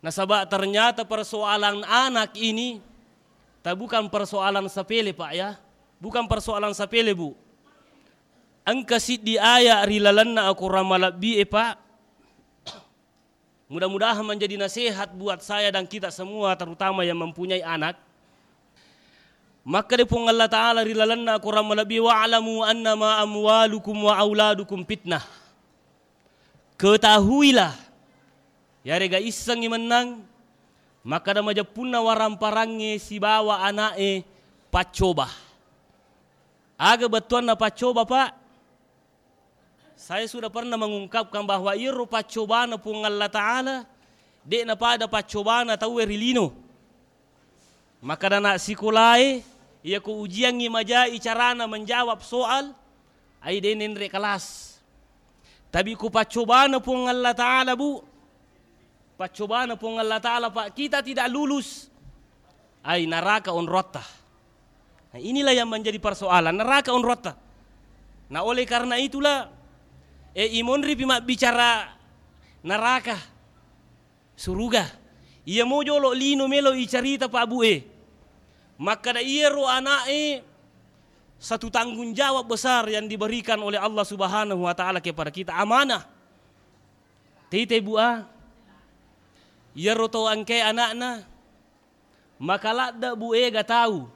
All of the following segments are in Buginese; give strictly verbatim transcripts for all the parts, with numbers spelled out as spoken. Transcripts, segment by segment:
Nasaba ternyata persoalan anak ini ta bukan persoalan sepele, Pak, ya. Bukan persoalan sepele, Bu. Engka siddi ayat ri lalenna Al-Quran malebbi e, Pak. Mudah-mudahan menjadi nasihat buat saya dan kita semua, terutama yang mempunyai anak. Makkeda Puang Allah Ta'ala ri lalenna Al-Quran malebbi, "Wa'lamu annama amwalukum wa auladukum fitnah." Ketahuilah, yarega issengngi mennang, makkeda majeppunna waramparangnge sibawa ana'e paccoba. Aga bettuanna paccoba, Pak? Saya sudah pernah mengungkapkan bahwa iyaro paccobana Puang Allah Ta'ala, de'na pada paccobana tauwe ri lino. Makkeda ana sikolae, iya ko ujiangngi majai carana menjawab soal, ai de' nenre kelas. Tapi ko paccobana Puang Allah Ta'ala, Bu, paccobana Puang Allah Ta'ala, Pak, kita tidak lulus, ai neraka onrotta. Nah, inilah yang menjadi persoalan, neraka onrotta. Nah, oleh karena itulah, eh, imonripi mabbicara neraka, suruga. Iya mo jolo lino melo icarita, Pak, Bu, e. Makkeda iyaro ana'e satu tanggung jawab besar yang diberikan oleh Allah Subhanahu wa Ta'ala kepada kita, amanah. Tete, Bu, a. Iyaro to engkae ana'na, maka ladde, Bu, ega tau.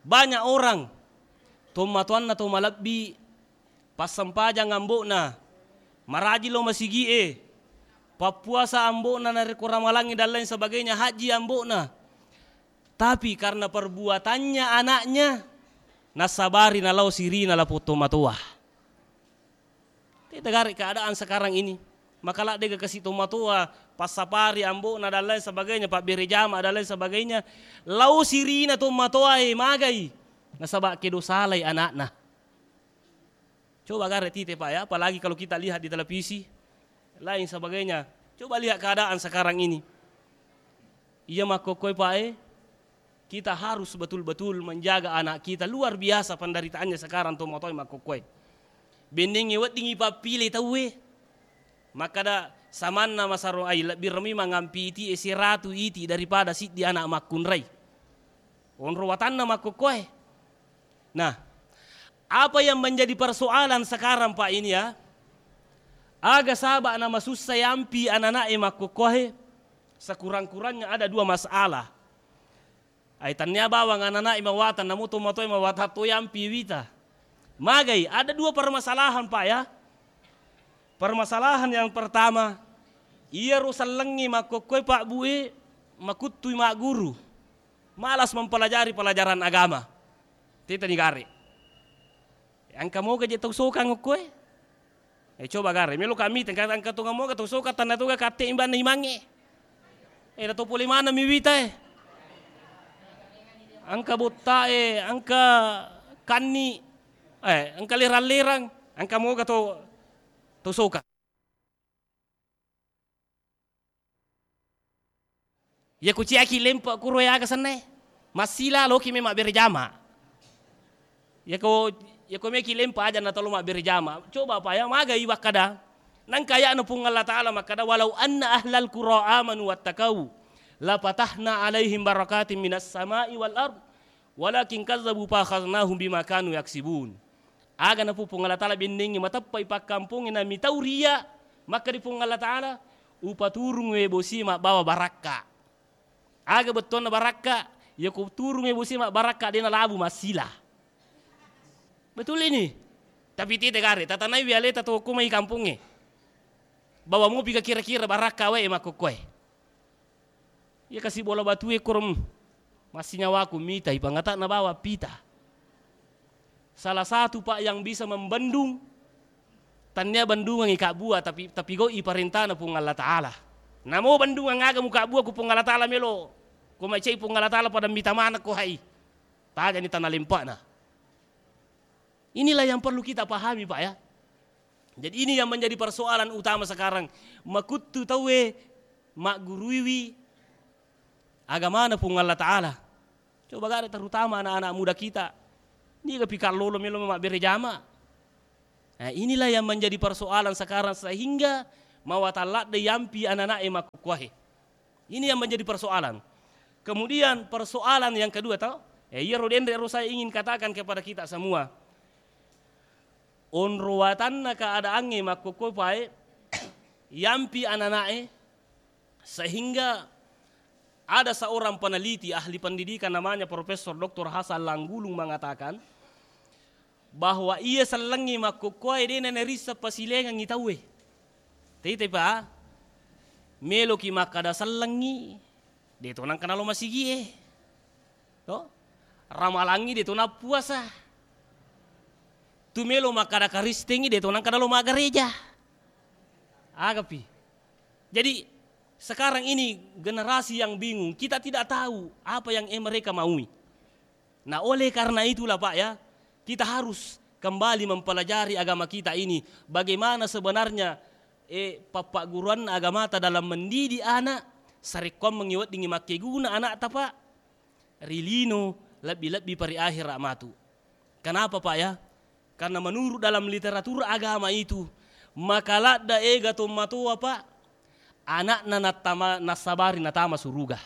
Banyak orang, tommatoanna to malebbi, passempajang ambo'na, maraji lo masigi'e, pappuasa ambo'na narekko ramalangngi dan lain sebagainya, haji ambo'na. Tapi karena perbuatannya anaknya, nasabari nalao sirina lapong tomatoa. Tete gare keadaan sekarang ini. Maka ladde ga kasi tomatoa, passapari ambo'na dan lain sebagainya, pabbere jama dan lain sebagainya. Lao sirina tomatoa e magai. Nasaba kedo salai anakna. Coba gare tite, Pak, ya, apalagi kalau kita lihat di televisi, lain sebagainya. Coba lihat keadaan sekarang ini. Iya makkokkoe, Pak, e, kita harus betul-betul menjaga anak kita. Luar biasa penderitaannya sekarang tomatoe makkokkoe. Bennengnge weddingngi pappile tauwe. Makkeda samanna masaro ai, lebbi remi mangampi iti e siratu iti daripada siddi anak makkunrai. Onro watanna makkokkoe. Nah, apa yang menjadi persoalan sekarang, Pak, ini, ya? Aga saba' namasussa yampi anana'e makkokkoe, sekurang-kurangnya ada dua masalah. Ai, tannia bawang anana'e mawatang, namo tomatoe mawatang to yampi wita. Magai, ada dua permasalahan, Pak, ya. Permasalahan yang pertama, iyaro sellengngi makkokkoe, Pak, Bu, e, makuttui magguru. Malas mempelajari pelajaran agama. Titani gare. Engka moga je tau sokang okkoe? Eh, coba gare, melo kami tengka engka tonga moga tau sokang tanna toga katte imbanna imangnge. Eh, da to pole maneng mi wita e. Engka botta e, engka kanni, eh, engka lerang-lerang, engka moga to, to sokang. Iya kuciaki lempe kuro e aga sennae. Massila loki me mabbere jama. Iya ko, iya ko meki lempe aja na tolo mabbere jama. Coba pa ya magai wakkada. Nangka aya'na Puang Allah Ta'ala makkada, "Walau anna ahlal qura amanu wattaqau, la fatahna alaihim barakatim minas sama'i wal ard, walakin kazzabu fa akhadnahum bima kanu yaksibun." Aga napu Puang Allah Ta'ala bennengngi mateppai pakkampongnge na mitau riya, makkadi Puang Allah Ta'ala, "Upaturung we bosi mabbawa barakka." Aga bettuanna barakka? Iya ko turung we bosi mabbarakka, de nalabu massila. Betul ini. Tapi tite gare, tatanai wi aleta to ko mai kampongnge. Bawa mopi ka kira-kira barakka wae makkokkoe. Iya kasi bola batue koro, mm, massinyawaku mitai pangata nabawa pita. Salah satu, Pak, yang bisa membendung, tannia bendungangngi kabbua, tapi, tapi goi parentana Puang Allah Ta'ala. Namo bendungang aga mukabbua ku Puang Allah Ta'ala melo, ko macai Puang Allah Ta'ala pada mita maneng ko hai. Tajani tana lempana. Inilah yang perlu kita pahami, Pak, ya. Jadi, ini yang menjadi persoalan utama sekarang. Makuttu tauwe magguruiwi agamana Puang Allah Ta'ala. Coba gare, terutama anak-anak muda kita. Niga pi kallolo melo mabbere jama. Nah, inilah yang menjadi persoalan sekarang sehingga mawatang ladde yampi anana'e makkukkuahe. Ini yang menjadi persoalan. Kemudian persoalan yang kedua, tau? Eh, iyaro denre ro saya ingin katakan kepada kita semua. Onro watanna keadaangnge makkokkoe pae, yampi anana'e, sehingga ada seorang peneliti ahli pendidikan namanya Profesor Doktor Hasan Langgulung mengatakan bahwa iya sellengngi makkokkoe de' nanerisseng pasilengengngi tauwe. Tete pa, meloki makkada sellengngi, de' to nengka nalo masigie. To? Ramalangngi de' to nappuasa. Tu melo makkada Karistengngi de' to nengka nalo maggereja. Agapi. Jadi, sekarang ini generasi yang bingung. Kita tidak tahu apa yang, eh, mereka maui. Nah, oleh karena itulah, Pak, ya, kita harus kembali mempelajari agama kita ini. Bagaimana sebenarnya, eh, pappagguruanna agamata dalam mendidik anak, sarekkoammengngi weddingngi makkeguna anakta, Pak, ri lino, lebbi-lebbi pa ri akhera matu. Kenapa, Pak, ya? Karena menurut dalam literatur agama itu, maka ladda ega tommatoa, Pak, anakna nattama-, nassabari natama suruga.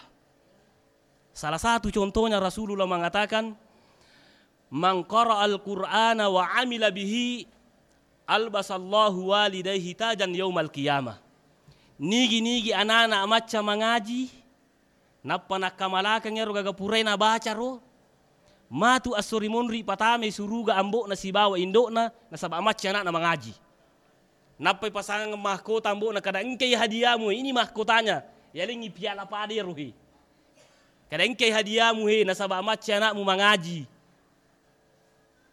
Salah satu contohnya Rasulullah mengatakan, "Man qara'al Qur'ana wa amila bihi, albasallahu walidaihi tajan yaumal qiyamah." Nigi-nigi anana macca mangaji, nappa nakkamalakeng ero gaga purai nabaca ro, matu esso ri monri patamai suruga ambo'na sibawa indo'na, nasaba macca anakna mangaji. Nappai pasangeng mahkota ambo'na, kada engkai hadiahmu, ini mahkotanya, yalengngi piala pada ero he. Kada engkai hadiahmu he, nasaba macca anakmu mangaji.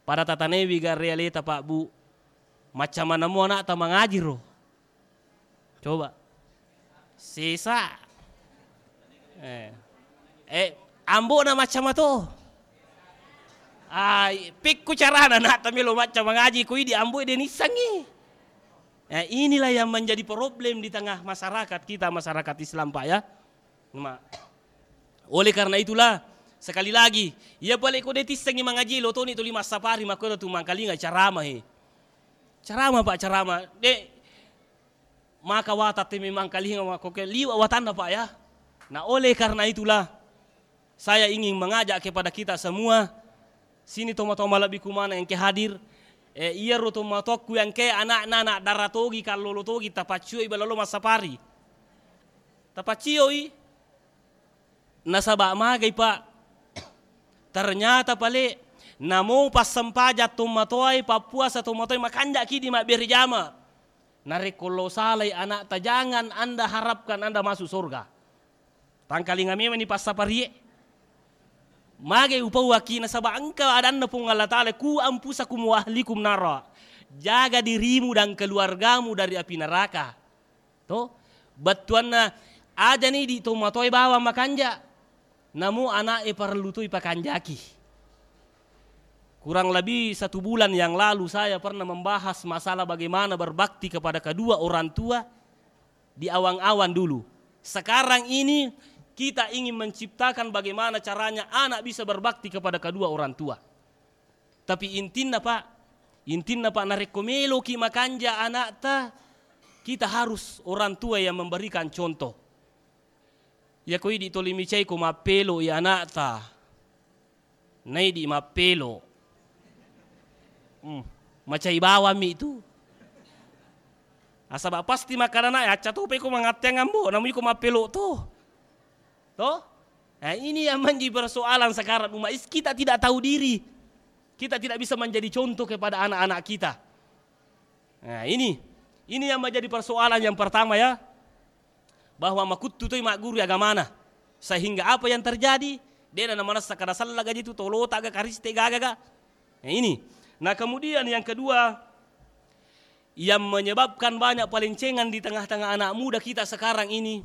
Pada tatanewi garre aleta, Pak, Bu. Macca manammu anakta mangaji ro. Coba. Sesa. Eh. Eh, ambo'na macca mato. Ah, pekko carana anakta melo macca mangaji, ko idi ambo'e de' nissengngi. Eh, inilah yang menjadi problem di tengah masyarakat kita, masyarakat Islam, Pak, ya. Ma-, oleh karena itulah, sekali lagi, iya pale ko de' tissengngi mangaji, lo toni tuli massapari, makko tu mangkalinga carama he. Carama, Pak, carama. De', maka watatte memang kalinga makko ke liwa watanna, Pak, ya. Nah, oleh karena itulah, saya ingin mengajak kepada kita semua, sini tomatoa malebbiku maneng engke hadir, eh, iyaro tomatoakku engke anakna, anak dara togi, kallolo togi, tapaccioi bela lo massapari. Tapaccioi. Nasaba magai, Pak. Ternyata pale, namo passempajang tommatoae, pappuasa tommatoae, makanjaki di mabbere jama. Narekko lo salai anakta, jangan Anda harapkan Anda masuk surga. Tangkalinga memang ni passaparie. Magai upauaki, nasaba engka adanna Puang Allah Taala, "Ku anfusakum wa ahlikum nara." Jaga dirimu dan keluargamu dari api neraka. To? Bettuanna, ajani di tomatoae bawang makanja, namo ana'e parellu toi pakanjaki. Kurang lebih satu bulan yang lalu saya pernah membahas masalah bagaimana berbakti kepada kedua orang tua di awang-awang dulu. Sekarang ini kita ingin menciptakan bagaimana caranya anak bisa berbakti kepada kedua orang tua. Tapi intinna, Pak, intinna, Pak, narekko meloki makanja anakta, kita harus orang tua yang memberikan contoh. Iya ko idi toli micai ko mappelo i anakta, naidi mappelo. Hmm, macai bawammi tu. Nasaba pasti makkadana, "Eh, acca tope ko mangatteang ambo, namu iko mappelo to." To? Nah, ini yang menjadi persoalan sekarang umat Is-, kita tidak tahu diri. Kita tidak bisa menjadi contoh kepada anak-anak kita. Nah, ini, ini yang menjadi persoalan yang pertama, ya. Bahwa makuttu toi magguru agamana. Sehingga apa yang terjadi? De'na namanessa kada sella gaji tu, tolota ga, kariste gaga ga. Nah, ini. Nah, kemudian yang kedua, yang menyebabkan banyak palencengan di tengah-tengah anak muda kita sekarang ini,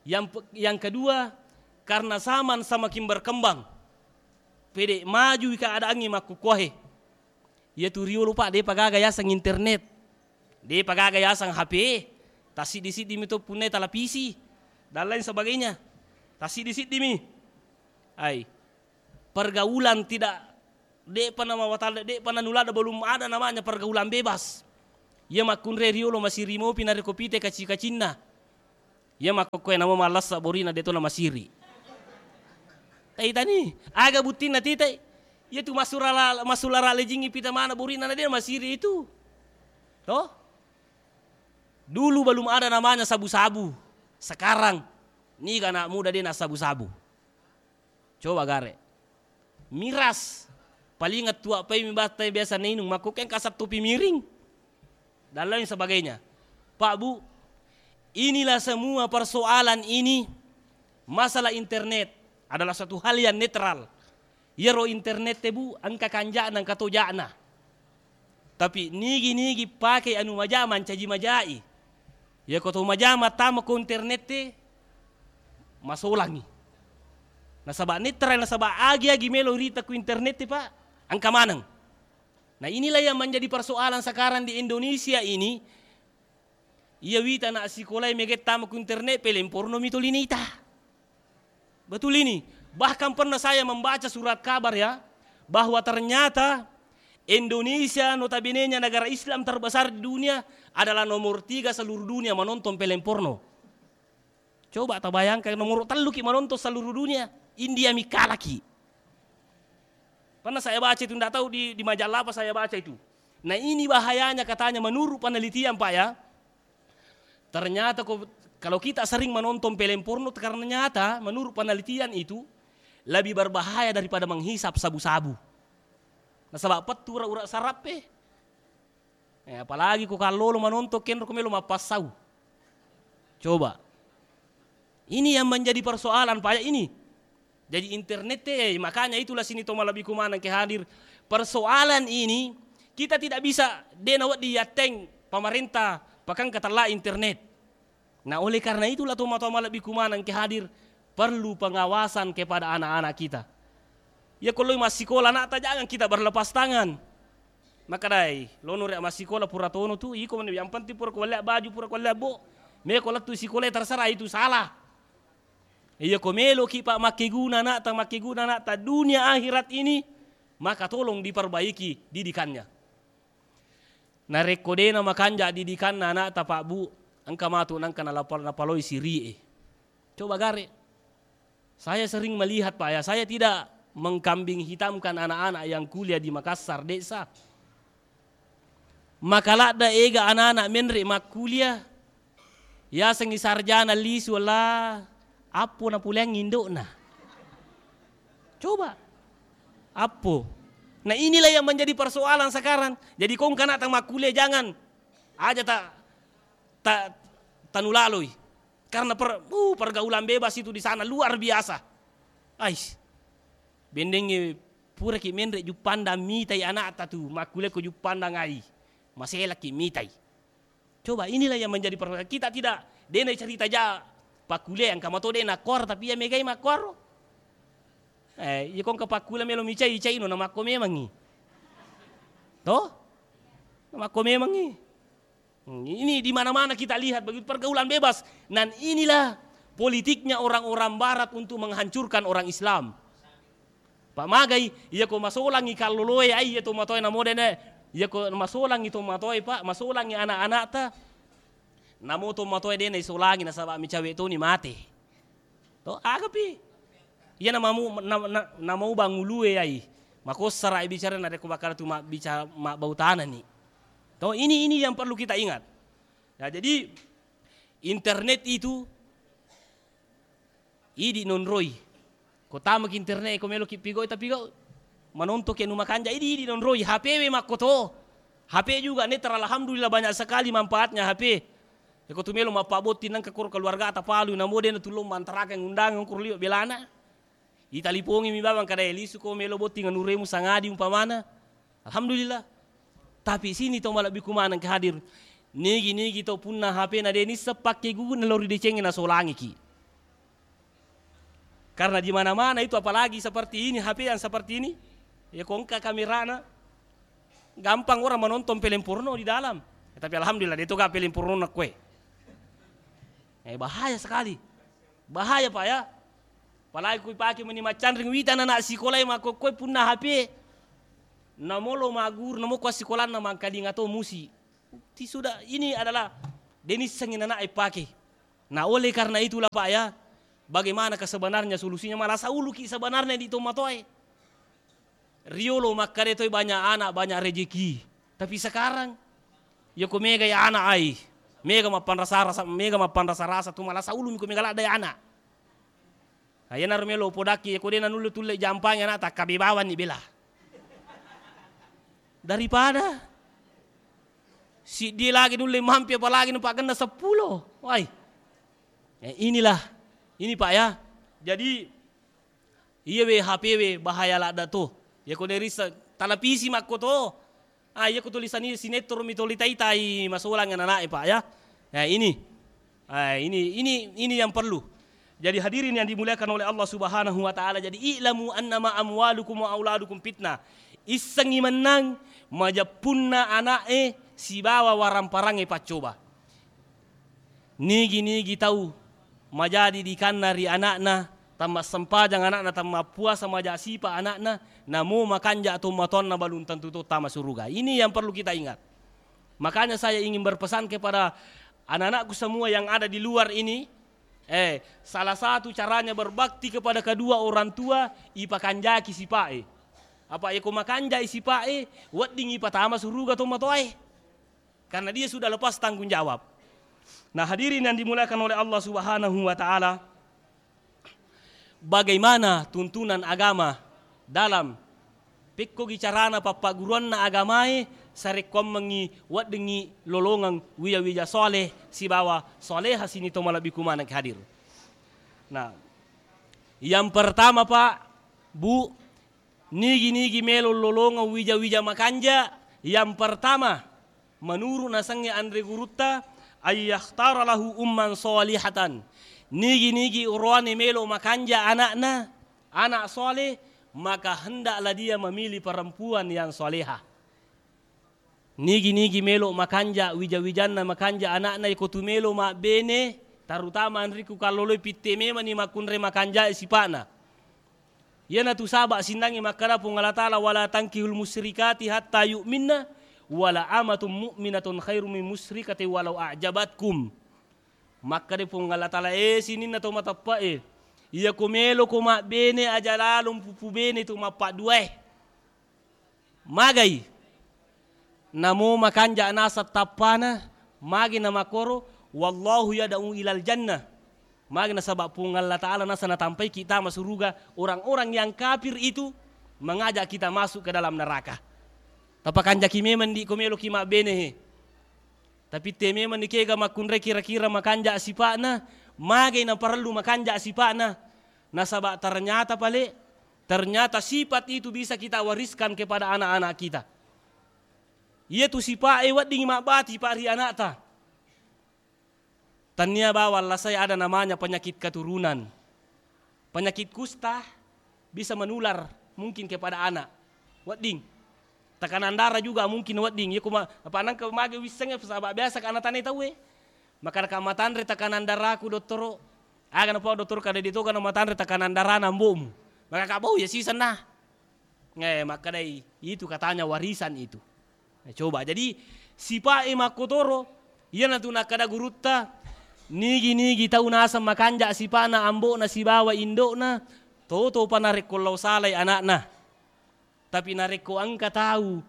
yang pe-, yang kedua, karena zaman semakin berkembang, pede maju keadaannya makkukkuahe. Iya tu riolo, Pak, de'pa gaga yaseng internet, de'pa gaga yaseng H P, tassiddi-siddi mi to punnai televisi dan lain sebagainya, tassiddi-siddi mi. Ai, pergaulan tidak, de'pa namawatalla, de'pa nanuladda, belum ada namanya pergaulan bebas. Iya makkunrai riolo masiri mopi narekko pite kaci-kacinna. Iya makkokkoe namo mallessa borina de to namasiri. Taitani, aga buttinna titai? Iya tu masurala-, masulara lejingngi pita mana borina na de namasiri itu. Toh? Dulu belum ada namanya sabu-sabu. Sekarang, niga anak muda de nassabu-sabu. Coba gare. Miras. Paling tua pai mi batta biasa nainung. Makkokkoe engka sattu pi miring. Dan lain sebagainya. Pak, Bu, inilah semua persoalan ini, masalah internet adalah suatu hal yang netral. Iyaro internet e, Bu, engka kanja'na, engka to ja'na. Tapi nigi-nigi pake anu maja mancaji majai. Iyako to maja mattama ko internet e, masolangi. Nasaba netral, nasaba agi-agi melo rita ku internet e, Pak, engka maneng. Nah, inilah yang menjadi persoalan sekarang di Indonesia ini. Iya wita anak sikolae mega tama ku internet, peleng porno mi tuli nita. Betul ini. Bahkan pernah saya membaca surat kabar ya, bahwa ternyata Indonesia, notabene-nya negara Islam terbesar di dunia, adalah nomor tiga seluruh dunia menonton peleng porno. Coba tabayangkan, nomor tellu ki menonton seluruh dunia, India mi kalaki. Pernah saya baca itu, ndak tahu di, di majalah apa saya baca itu. Nah, ini bahayanya katanya menurut penelitian, Pak, ya. Ternyata ko-, kalau kita sering menonton peleng porno, ternyata menurut penelitian itu lebih berbahaya daripada menghisap sabu-sabu. Nasaba pettu ura-ura sarappe. Eh, apalagi ko kallolo manonton, kenro ko melo mappassau. Coba. Ini yang menjadi persoalan, Pak, ya, ini. Jadi internet e, makanya itulah sini to malebbiku maneng ke hadir. Persoalan ini kita tidak bisa de nawedding yatteng pemerintah pakang ketella internet. Nah, oleh karena itulah to matoa malebbiku maneng ke hadir, perlu pengawasan kepada anak-anak kita. Ya, ko loi massikola anakta, jangan kita berlepas tangan. Makkedai, lono ri massikola pura tono tu, iko mani yang penting pura ko wallea baju, pura ko wallea bo. Meko lettu sikola, terserah itu salah. Iya, ko meloki, Pak, makkeguna anakta, makkeguna anakta dunia akhirat ini, maka tolong diperbaiki didikannya. Narekko dena makanja didikanna anakta, Pak, Bu, engka matu nengka nalapa-, napaloi siri e. Coba gare. Saya sering melihat, Pak, ya, saya tidak mengkambing hitamkan anak-anak yang kuliah di Makassar, desa. Maka ladda ega anak-anak menre makkuliah, yasengngi sarjana lisu, la appo napuleang indo'na. Coba. Appo. Nah, inilah yang menjadi persoalan sekarang. Jadi, kongka anakta makkuliah, jangan aja ta-, ta-, tanulaloi. Karena per-, uh, pergaulan bebas itu di sana luar biasa. Ais. Bendengnge puraki menre Juppandang mitai anakta tu, makkuliah ko Juppandang ai. Maselaki mitai. Coba, inilah yang menjadi persoalan. Kita tidak, dena cerita ja pakkuliah, engka mato dena makkuaro, tapi iya megai makkuaro. Eh, iya kongka pakkuliah melo micai, icaino namakko memangngi. Toh? Namakko memangngi. Hmm, ini di mana-mana kita lihat begitu pergaulan bebas. Dan inilah politiknya orang-orang barat untuk menghancurkan orang Islam. Pak, magai, iya ko masolangi kalloloe, ai, iya to matoe namo dene, iya ko masolangi to matoe, Pak, masolangi anak-anakta, namo to matoe dena isolangi nasaba micawe toni mate. To, agapi. Iya namamu-, na-, na-, namaubang ulue, ai. Makossara bicara narekko bakal tu mabbica-, mabbau tanani. To, ini, ini yang perlu kita ingat. Nah, jadi internet itu idi nonroi. Ko tamaki internet, ko meloki pigau, tapi gau manontoki anu makanja, idi, idi nonroi. H P we makkoto. H P juga netral, alhamdulillah banyak sekali manfaatnya H P. Eko tu melo mappabotting nengka koro keluargata palu, namo dena tulung mantarakeng undangan koro liwe belana. Italipongi mi bawang kada, "Eh, lisu ko melo botting anuremu sangadi," umpamana. Alhamdulillah. Tapi sini to malebbiku maneng ke hadir. Nigi-nigi to punna H P na de nisseng pakkeguna lao ri decengnge nasolangiki. Karena di mana-mana itu, apalagi seperti ini, H P yang seperti ini, ya ko engka kamerana, gampang orang menonton film porno di dalam. Ya, tapi alhamdulillah, de to ga film porno na kue. Eh, bahaya sekali. Bahaya, Pak, ya. Apalagi ku ipake meni maccanring, wita anak sikolae makkokkoe punna H P. Namolo magguru, namo ko assikolanna mangkalinga to musi. Ti sudah, ini adalah de nissengi anak ipake. Nah, oleh karena itulah, Pak, ya, bagaimana kesebenarnya solusinya? Malasa uluki sebenarnya di tomatoae. Riolo makkeda toi banyak anak, banyak rezeki. Tapi sekarang, ya ko mega ya anak ai. Mega mappanrasa-rasa, mega mappanrasa-rasa tu malasa ulumi ko mega ladda ya anak. Nah, iyanaro melo upodakki, ya ko de nanulle tulle jampangi anak, takkabe bawanni bela. Daripada siddi lagi nulle mampi, apalagi nupagenna seppulo. Wai. Eh, inilah. Ini, Pak, ya. Jadi, iya we H P we bahaya ladda to. Ya ko nerissa televisi makko to. Ah, iya ko tulisani sinetron mi toli tai-tai masolang anak-anak, Pak, ya. Nah, ini. Ah, ini, ini, ini yang perlu. Jadi hadirin yang dimuliakan oleh Allah Subhanahu wa Ta'ala. Jadi, "I'lamu annama amwalukum wa auladukum fitnah." Issengi mennang majeppunna ana'e sibawa waramparangnge paccoba. Nigi-nigi tau majadi dikanna ri ana'na, tammassempajang ana'na, tammappuasa maja sipa ana'na, namo makanja tomatoanna, balum tentu to tama suruga. Ini yang perlu kita ingat. Makanya saya ingin berpesan kepada anak-anakku semua yang ada di luar ini, eh, salah satu caranya berbakti kepada kedua orang tua, ipakanjaki sipae. Apa iko makanjai sipae, wedding ipatama suruga tomatoae. Karena dia sudah lepas tanggung jawab. Nah, hadirin yang dimuliakan oleh Allah Subhanahu wa Ta'ala, bagaimana tuntunan agama dalam pekkogi carana pappagguruanna agamae, sarekkoammengngi weddingngi lolongeng wija-wija soleh sibawa soleha sini to malebbiku maneng hadir. Nah, yang pertama, Pak, Bu, nigi-nigi melo lolongeng wija-wija makanja, yang pertama, menuru nasengnge anre gurutta, ayyakhtara lahu umman shalihatan. Nigi-nigi oroane melo makanja ana'na, anak soleh, maka hendaklah dia memilih perempuan yang soleha. Nigi-nigi melo makanja wija-wijanna, makanja ana'na, iko tu melo mabbene, terutama anrikku kalloloi, pitte memani makkunrai makanja sipa'na. Iyanatu saba' sinnangngi makkeda Puang Allah Ta'ala, "Wala tankihul musyrikati hatta yu'minna, wala amatun mu'minatun khairum min musyrikatin walau a'jabatkum." Makkeda Puang Allah Ta'ala, "Eh, sininna to mateppe'e, iya ko meloko mabbene, aja lalong pupu bene tu mappadduae." Magai? Namo makanja naseng tappana, magi namakkoro, "Wallahu yad'u ilal jannah." Magi nasaba Puang Allah Ta'ala naseng natampaiki tama suruga orang-orang yang kafir itu mengajak kita masuk ke dalam neraka. Tapakanjaki memang di ko meloki mabbene he. Tapi te memang ni kega makkunrai kira-kira makanja sipa'na, magai naparellu makanja sipa'na. Nasaba ternyata pale, ternyata sifat itu bisa kita wariskan kepada anak-anak kita. Iyatu sipa'e wedding mabbati, Pak, ri anakta. Tania bawang lasai ada namanya penyakit keturunan. Penyakit kusta bisa menular mungkin kepada anak. Wedding. Tekanan darah juga mungkin wedding. Iya kuma, apa nangka mage wissengnge, saba biasa ka ana tane tauwe. Maka ka matanre tekanan darahku, dottoro. Aga napa dottoro, kada ditoga na matanre tekanan darahna ambo'mu. Maka ka bau ya sisenna. Eh, makkedai, itu katanya warisan itu. Eh, coba. Jadi, sipa'e makkotoro, iyanatu nakkeda gurutta, nigi-nigi tau naseng makanja sipa'na ambo'na sibawa indo'na, toto pa narekko lao salai ana'na. Tapi narekko engka tau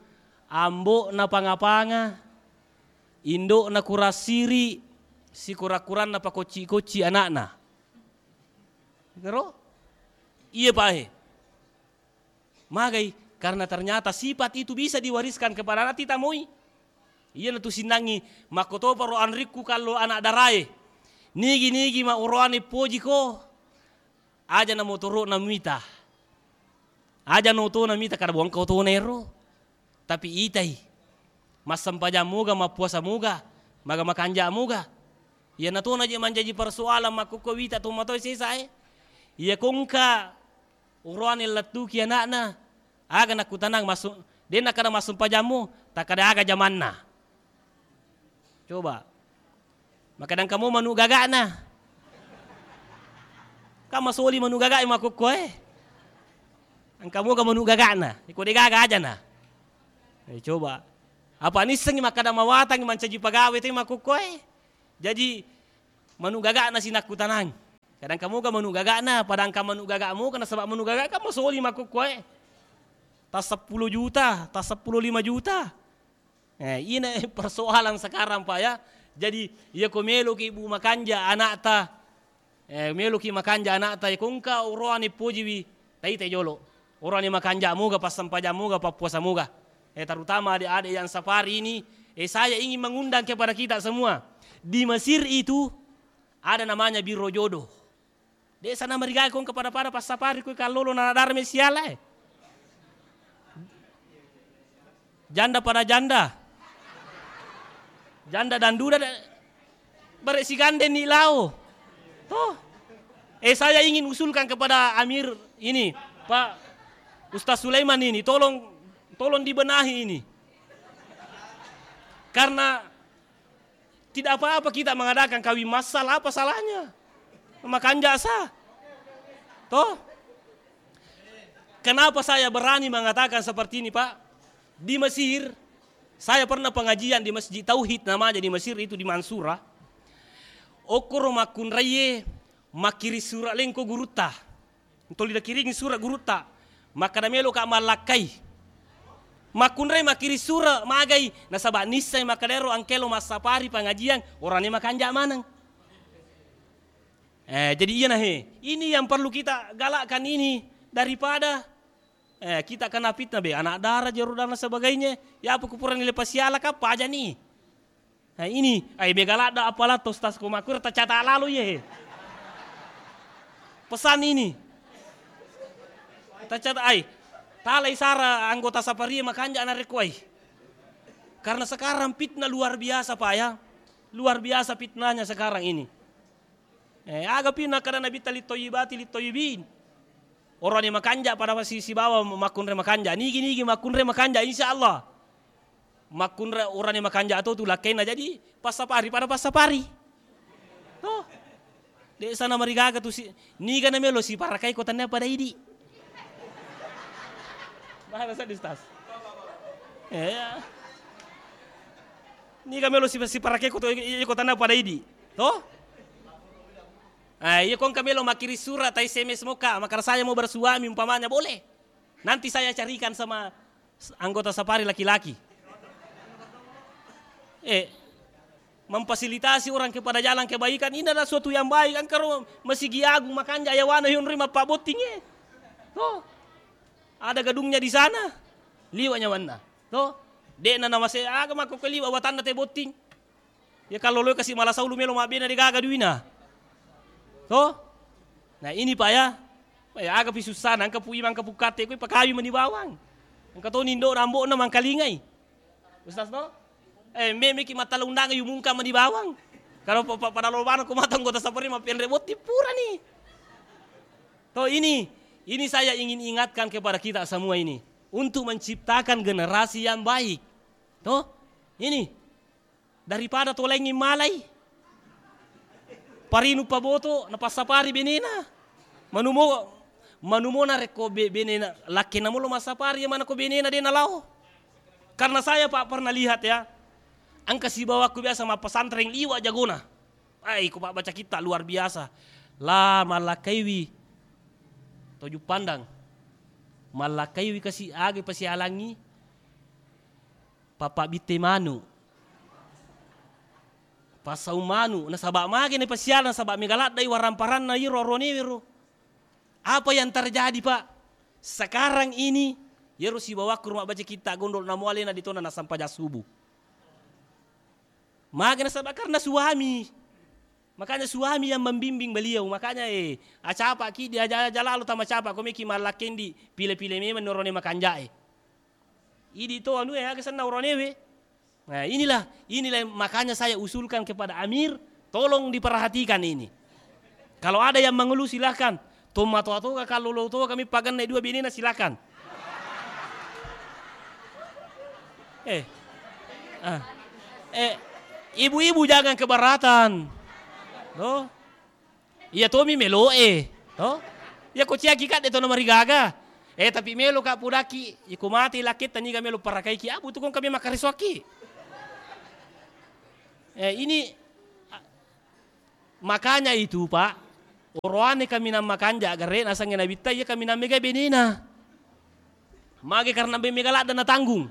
ambo'na panga-panga, indo'na kurang siri, sikura-kuranna pakocci-kocci ana'na. Garo? Iya, Pak, eh. Magai? Karena ternyata sifat itu bisa diwariskan kepada anak, tita moi. Iyanatu sinnangngi, makkotoparo anrikku kallo anak darae. Nigi-nigi ma oroane pojiko, aja na motoro'na mita. Aja na otona mita, kada bongka otona ero. Tapi itai. Massempajang moga, mappuasa moga, maga makanja moga. Iyanatona je mancaji persoalan makkukko wita tomatoe sesae. Iya kongka Uroane lettuki ana'na, aga nakkutanang massu-, de nakkeda massempajammu, takkeda aga jamanna. Coba. Makkeda engka mo manu gaga'na. Kan masoli manu gaga'i makkukkoe. Engka moga manu gaga'na. Iko de gaga ajana. Eh, coba. Apa nissengi makkeda mawatangi mancaji pagawe te makkukkoe. Jaji, Manu gaga'na sinakkutanang. Kadang kamoga manu gaga'na, padangka manu gaga moga nasaba manu gaga kan masoli makkukkuae. Tas seppulo juta, tas seppulo lima juta. Eh, ina persoalan sekarang, Pak, ya. Jadi, iya ko meloki, Bu, makanja anakta, eh, meloki makanja anakta, ya ko engka oroane pojiwi, taitai jolo. Oroane makanja moga, passempajang moga, pappuasa moga. Eh, terutama adik-adik yang safari ini, eh, saya ingin mengundang kepada kita semua. Di Mesir itu ada namanya biro jodoh. Desa namarigaga ko engka pada-pada passapari ko kallolo na dara mesiala, eh. Janda pada janda. Janda dan duda da-, bare sigandeng ni lao. Toh. Eh, saya ingin usulkan kepada Amir ini, Pak Ustaz Sulaiman ini, tolong, tolong dibenahi ini. Karena tidak apa-apa kita mengadakan kawin massal, apa salahnya? Makanja sa. Toh? Kenapa saya berani mengatakan seperti ini, Pak? Di Mesir, saya pernah pengajian di Masjid Tauhid namanya di Mesir itu di Mansura. Okkoro makkunraie makkiring sura lengko gurutta. Toli nakiringi sura gurutta, makkada meloka mallakkai. Makkunrai makkiring sura magai, nasaba nissai makkada ero engka elo massapari pangajian, orane makanja maneng. Eh, jadi iyana he, ini yang perlu kita galakkan ini daripada, eh, kita kena fitnah be, anak dara, jeru dan sebagainya. Ya apa kupurani lepas siala ka paja ni. Nah, ini, ai mega ladda apala to, Ustaz, ko makkura tacata lalo iye. Pesan ini. Tacata ai. Talai sara anggota saparie makanja narekko ai. Karena sekarang fitnah luar biasa, Pak, ya. Luar biasa fitnahnya sekarang ini. Eh, aga pi nakkada Nabitta, "Littoyibati littoyibin." Orane makanja pada si-, sibawa makkunrai makanja. Nigi-nigi makkunrai makanja, insya Allah. Makkunrai orane makanja to tu lakkainna jadi passapari pada passapari. Toh. Desa namarigaga tu si-, niga namelo siparakai ko tannia pada idi. Bahasa di Ustaz. Iya. Niga melo si-, siparakai ko to, i-, i-, ko tannia pada idi. Toh? Ah, iya, ko engka melo makkiri sura, ta S M S moka, makkada saya mau bersuami umpamanya, boleh. Nanti saya carikan sama s-, anggota safari laki-laki. Eh, memfasilitasi orang kepada jalan kebaikan, ini adalah suatu yang baik. Engka ro masigi agung makanja yawana yonroi mappabotting, eh. Toh? Ada gedungnya di sana. Liwa nyawanna. Toh? De'na nawase aga makkokko liwa watanna te botting. Ya kalloloi kasi mala saulu melo mabbena de gaga duina. Toh? Nah, ini, Pak, ya. Pak, ya, aga pi sussana, engka pu ima, engka pu katte, koi pakawi mani bawang. Engka toni indo'na ambo'na mangkalingai. Ustaz, toh? Eh, me-, meki mattala undangan yumungka mani bawang. Kalau pa-, pa-, pada lobana ko mata anggota safari mappenre botting purani. Toh, ini, ini saya ingin ingatkan kepada kita semua ini untuk menciptakan generasi yang baik. Toh? Ini. Daripada tolaingngi malai. Parinu paboto, napassapari benena. Manumo, manumo narekko be-, benena, lakkenna molo massapari, iya manako benena de nalao. Karena saya, Pak, pernah lihat, ya. Engka sibawakku biasa mappesantreng liwa jagona. Ai, ko pabbaca kitta luar biasa. La mallakkaiwi to Juppandang. Mallakkaiwi kasi aga pasialangngi. Papabbitte manu, passau manu, nasaba magi napasiala, nasaba mega laddai waramparanna iro oronewe ro. Apa yang terjadi, Pak? Sekarang ini, yero sibawakku ro mabbaca kitta gondol, namo alena ditona nasampajang subuh. Magi nasaba karena suami. Makanya suami yang membimbing beliau. Makanya, eh, acapaki, diaja-aja lalo tama capa, ko meki mallakkendi, pile-pile memang norone makanjae. Idi to anu, eh, aga senna oronewe. Nah, inilah, inilah makanya saya usulkan kepada Amir, tolong diperhatikan ini. Kalau ada yang mengeluh, silahkan. Tomatoa toga, kallolo toga mi paganna dua benena, silahkan. Eh. Ah. Eh, ibu-ibu jangan keberatan. Loh. Iya tomi meloe, to? Iya ko ciaki kadde to namarigaga. Eh, tapi melo ka pudaki, iko mate lakketta niga melo parakaiki, abu tu kong kami makkaresoaki. Eh, ini, a-, Makanya itu, Pak, oroane kaminang makanja gare nasengnge nabitta iya kaminang mega benena. Mage karena be mega ladda natanggung.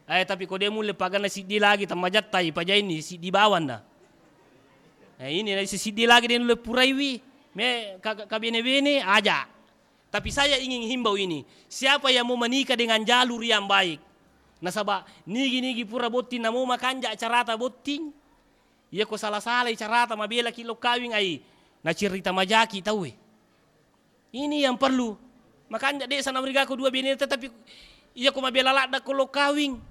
Eh, tapi ko de mulle paganna siddi lagi tammajatta ipajaini siddi bawanna. Eh, ini na siddi lagi de nulle puraiwi. Me ka, ka, kabene-bene aja. Tapi saya ingin himbau ini, siapa yang mau menikah dengan jalur yang baik? Nasaba nigi-nigi pura botting namo makanja carata botting, iya ko sala-salai carata mabelaki lo kawing ai, nacerita majaki tauwe. Ini yang perlu. Makanja de sana merigako dua bene, tetapi iya ko mabela ladda ko lo kawing,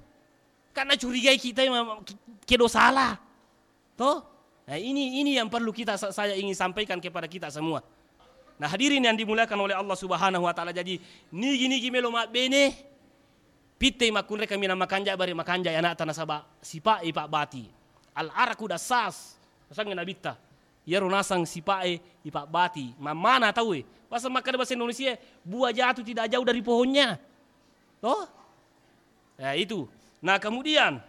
kan nacurigai kita ma-, kedo salah. Toh? Nah, ini, ini yang perlu kita, sa-, saya ingin sampaikan kepada kita semua. Nah, hadirin yang dimuliakan oleh Allah Subhanahu wa Ta'ala. Jadi, nigi-nigi melo mabbene, pittei makkunrai kaminang makanja, bare makanja anakta nasaba sipa ipabbati. Al-araku dassas, nasengnge nabitta. Iyaro nasang sipa e ipabbati. Mammana tauwe. Pasal makkeda bahasa Indonesia, buah jatuh tidak jauh dari pohonnya. Toh? Ya, itu. Nah, kemudian,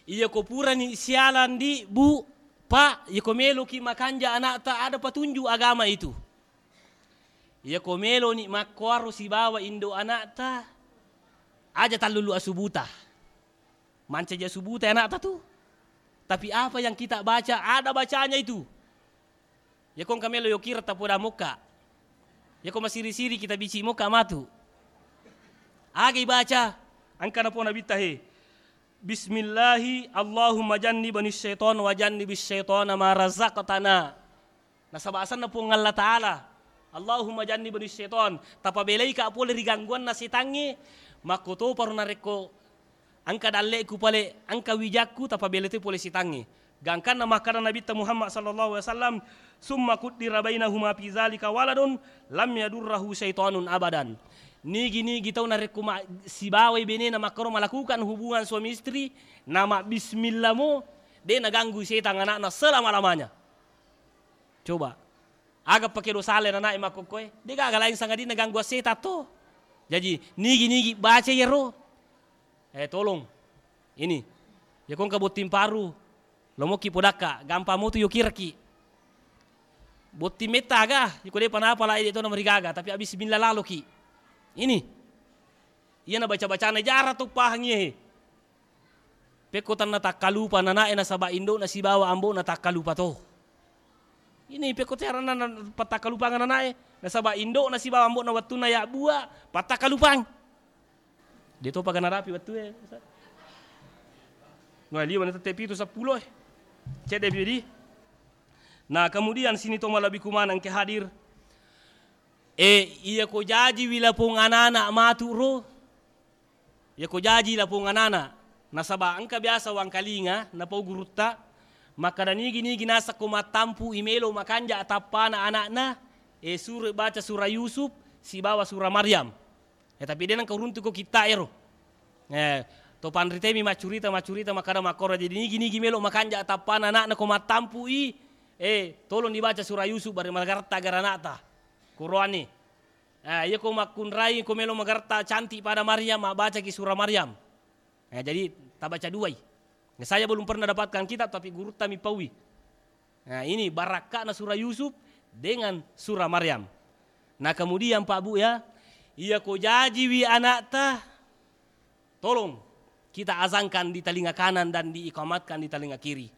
iya ko purani sialan di, Bu, Pak, iya ko meloki makanja anakta, ada petunjuk agama itu. Iya ko meloni makkuaro sibawa indo anakta, aja tallulu asubuta. Mancaji asubuta anakta tu. Tapi apa yang kita baca, ada bacanya itu. Iya ko engka melo yokira tapoda mokka. Iya ko masiri-siri kita bici mokka matu. Aga ibaca, engka napo nabitta he. Bismillahi, Allahumma jannibni syaitan wa jannibis syaitana ma razaqtana. Nasaba asenna Puang Allah Ta'ala. Allahumma jannibni syaitan. Tapabelaika pole ri gangguanna setangnge. Makkotoparo narekko engka dalle'ku pale, engka wijakku, tapabela toi pole setangnge. Gangkanna makkada Nabitta Muhammad sallallahu alaihi wasallam, "Summa kuddira bainahuma fi zalika waladun lam yadurrahu syaitanun abadan." Nigi-nigi tau narekko ma-, sibawai benena makkoro malakukan hubungan suami istri, nama bismillah mo, de naganggu setang anakna selama-lamanya. Coba. Aga pake dosa le nanae makkokkoe? De gaga lain sangadinna gangguan setang to. Jaji, nigi-nigi baca iyaro. Eh, tolong. Ini. Iya ko engka botting paru, lomokki podakka, gampang motu yokiraki. Botting metta aga, iko depa napala ede to namarigaga, tapi abis bismillah laloki. Ini. Iyana baca-bacana jara to pahangi e. Pekko tanna takkalupa nanae nasaba indo'na sibawa ambo'na takkalupa to. Ini pekko teranna na-, pattakkalupangeng nanae nasaba indo'na sibawa ambo'na wettunna yabbua pattakkalupang. De topa ga narapi wettue, Ustaz. Wah, liwa na tette pitu seppulo e. Cedde bidi. Nah, kemudian sini to malebbiku maneng ke hadir. Eh, iya ko jajiwi lapong anana matu ro. Iya ko jaji lapong anana. Nasaba engka biasa wangkalinga napau gurutta makkada nigi-nigi nasakko mattampu i melo makanja tappana anakna, eh, suro baca surah Yusuf sibawa surah Maryam. Eh, tapi de nengka uruntuko kitta ero. Eh, to panritemi maccurita-maccurita makkada makkoro, jadi nigi-nigi melo makanja tappana anakna ko mattampu i, eh, tolong dibaca surah Yusuf bare magaretta gara anakta. Qur'ani. Eh, iya ko makkunrai ko melo magaretta cantik pada Maryam, mabbacaki surah Maryam. Eh, jadi tabaca duai. Saya belum pernah dapatkan kitab tapi gurutta mi paui. Nah, ini barakka'na surah Yusuf dengan surah Maryam. Nah, kemudian Pak Bu ya, iya ko jajiwi anakta, tolong kita azankan di telinga kanan dan diikamatkan di telinga kiri.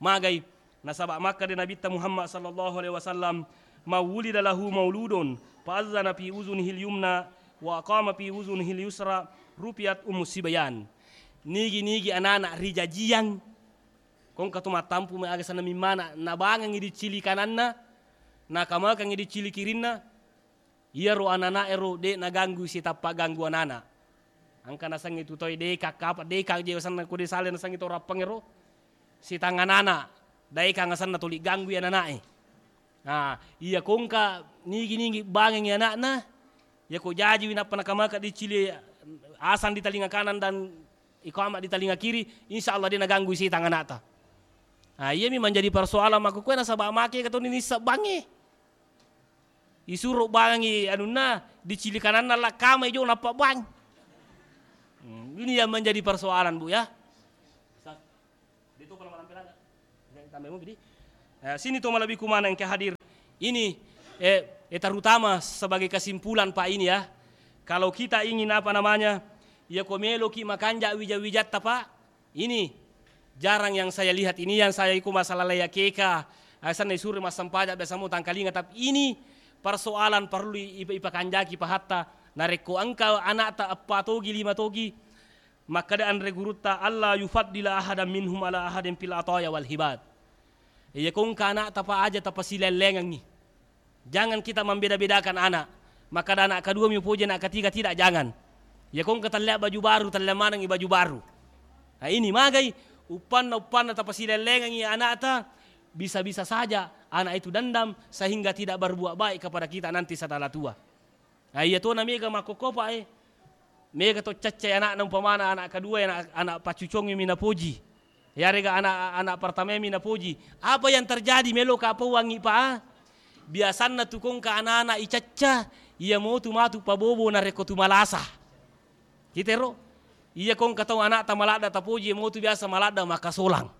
Magai, nasaba makkada Nabitta Muhammad sallallahu alaihi wasallam, "Man wulida lahu mauludun fa azzana fi uzunihil yumna wa aqama fi uzunihil yusra rufi'at ummu sibyan." Nigi-nigi anana rijajiang Ko engka to mattampu mai aga senna mimmana, nabangengngi diccili kananna, nakamakengngi diccili kirinna, iyaro anana'e ro de' naganggu sitappa ganggu anana. Engka nasengnge tu toi deka, kapa deka je wasenna ko de' sale nasengnge to rappangngero, sitang anana, daekang asenna tuli ganggui anana'e. Nah, iya ko engka nigi-nigi bangengngi ana'na, iya ko jajiwi nappa nakamaka diccili asang di talinga kanan dan iqamah di talinga kiri, insya Allah de' naganggui setang ana'ta. Nah, iyami manjadi persoalan makkukue nasaba make katoni nisseng bangnge. Isuro bangengngi anunna, diccili kananna lakkamai jo nappa bang. Hmm, ini yang menjadi persoalan, Bu, ya. Ustaz, de' to pala malampe lada. Yang tambai mo, Bidi. Eh, sini to malebbiku maneng ke hadir. Ini, eh, eh, terutama sebagai kesimpulan, Pak, ini ya. Kalau kita ingin, apa namanya, ya ko meloki makanja wija-wijatta, Pak, ini jarang yang saya lihat. Ini yang saya iku masalah laya keka, asanna isuri massempajang biasa mo tangkalinga, tapi ini persoalan perlu i-, ipa-, ipakanjaki pahatta. Narekko engka anakta eppa togi, lima togi, makkeda anre gurutta, "Alla yufaddila ahadan minhum ala ahadin fil ataya wal hibad." Iya ko engka anakta, Pak, aja tapasilellengengngi. Jangan kita membeda-bedakan anak. Makkeda anak kedua mi upoji, anak ketiga tidak, jangan. Iya ko engka tellea baju baru, tellea manengngi baju baru. Nah, ini magai uppanna, uppanna tapasilellengengngi anakta, bisa-bisa saja anak itu dendam sehingga tidak berbuat baik kepada kita nanti setelah tua. Nah, iya tona mega makkokkopa, eh. Mega to caccai anakna, umpamana anak kedua, anak, anak paccucongngi mi napoji. Yarega anak, anak pertama mi napoji. Apa yang terjadi, meloka pauangngi, Pak? Biasanna tu ko engka anak-anak icacca, iya motu matu pabobo narekko tu malasa. Kita ero, iya ko engka tau anakta maladda tapoji, iya motu biasa maladda makkasolang.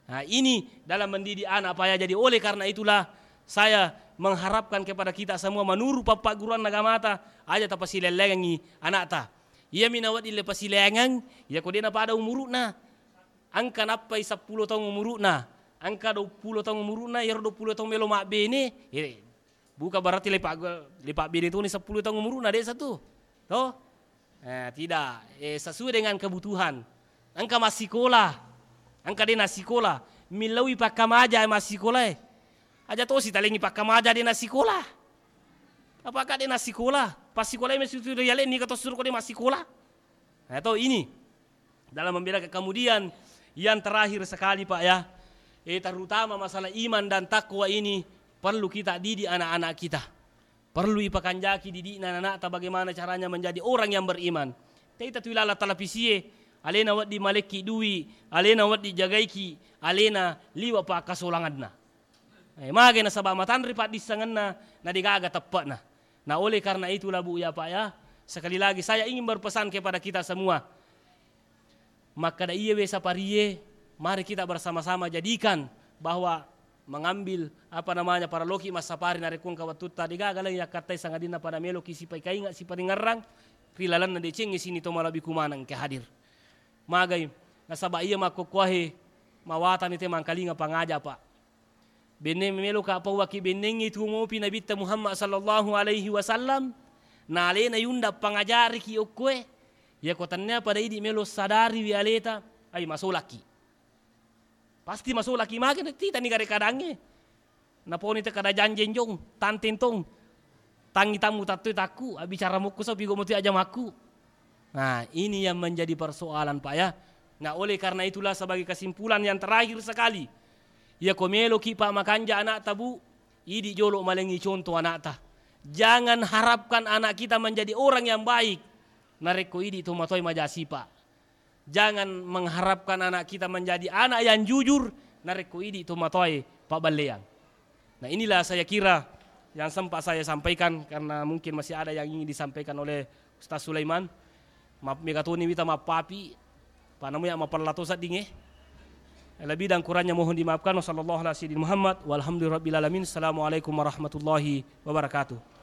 Nah, ini dalam mendidik anak, Pak, ya. Jadi, oleh karena itulah saya mengharapkan kepada kita semua, menurut pappagguruan agamata, aja tapasilellengengngi anakta. Iya mi nawedding le pasilengeng, iya ko de' napada umuru'na. Engka nappai seppulo taung umuru'na, engka duappulo taung umuru'na, iyaro duappulo taung melo mabbene, eh, bukan berarti lepa-, lepabbene toni seppulo taung umuru'na, de' satu. To? Eh, tidak. Eh, sesuai dengan kebutuhan. Engka massikola. Engka de' nassikola. Millauwi pakkamaja massikola, eh. Aja tosi talengi pakkamaja de' nassikola. Apakah de' nassikola? Passikola mesti tu rialenni, ka to suruh ko de' massikola. Nah, to ini. Dalam membedakan. Kemudian yang terakhir sekali, Pak, ya. Eh, terutama masalah iman dan takwa ini perlu kita didik anak-anak kita. Perlu ipakanjaki didi'na anakta bagaimana caranya menjadi orang yang beriman. Taita tu ilala televisie, alena wedding malekki dui, alena wedding jagaiki, alena liwa pakkasolanganna. Eh, magai nasaba matanre paddissengenna, na degaga teppe'na. Nah, oleh karena itulah, Bu, ya, Pak, ya, sekali lagi saya ingin berpesan kepada kita semua. Makkeda iye we saparie, mari kita bersama-sama jadikan bahwa mengambil, apa namanya, parelloki massapari narekko engka wettutta, degaga lagi yakkattai sangadinna pada meloki sipaikainga, siparingerrang ri lalenna decengnge sini to malebbiku maneng engka hadir. Magai, nasaba iya makkokkoahe mawatani te mangkalinga pangaja, Pak. Benne meloka pauwaki bennengngi tuo mopi Nabitta Muhammad sallallahu alaihi wasallam, na alena yunda pangajariki okkoe, yako tennia pada idi melo sadariwi aleta, ai masolaki. Pasti masolaki mage, titani gare kadangnge. Naponi te kada janjeng jong, tanteng tong. Tangi tammu tattoi takku, abbicara mukku so pigo mutui aja makku. Nah, ini yang menjadi persoalan, Pak, ya. Nah, oleh karena itulah sebagai kesimpulan yang terakhir sekali, iya ko meloki, Pak, makanja anakta, Bu, idi jolo malengi contoh anakta. Jangan harapkan anak kita menjadi orang yang baik narekko idi tomatoe majasipa. Jangan mengharapkan anak kita menjadi anak yang jujur narekko idi tomatoe pabballeang. Nah, inilah saya kira yang sempat saya sampaikan, karena mungkin masih ada yang ingin disampaikan oleh Ustaz Sulaiman. Maaf, mega toni wita mappapi, panamu ya mapella to seddingnge. Lebih dan kurangnya mohon dimaafkan. Wasallallahu ala sayyidina Muhammad walhamdulillahi rabbil alamin. Assalamualaikum warahmatullahi wabarakatuh.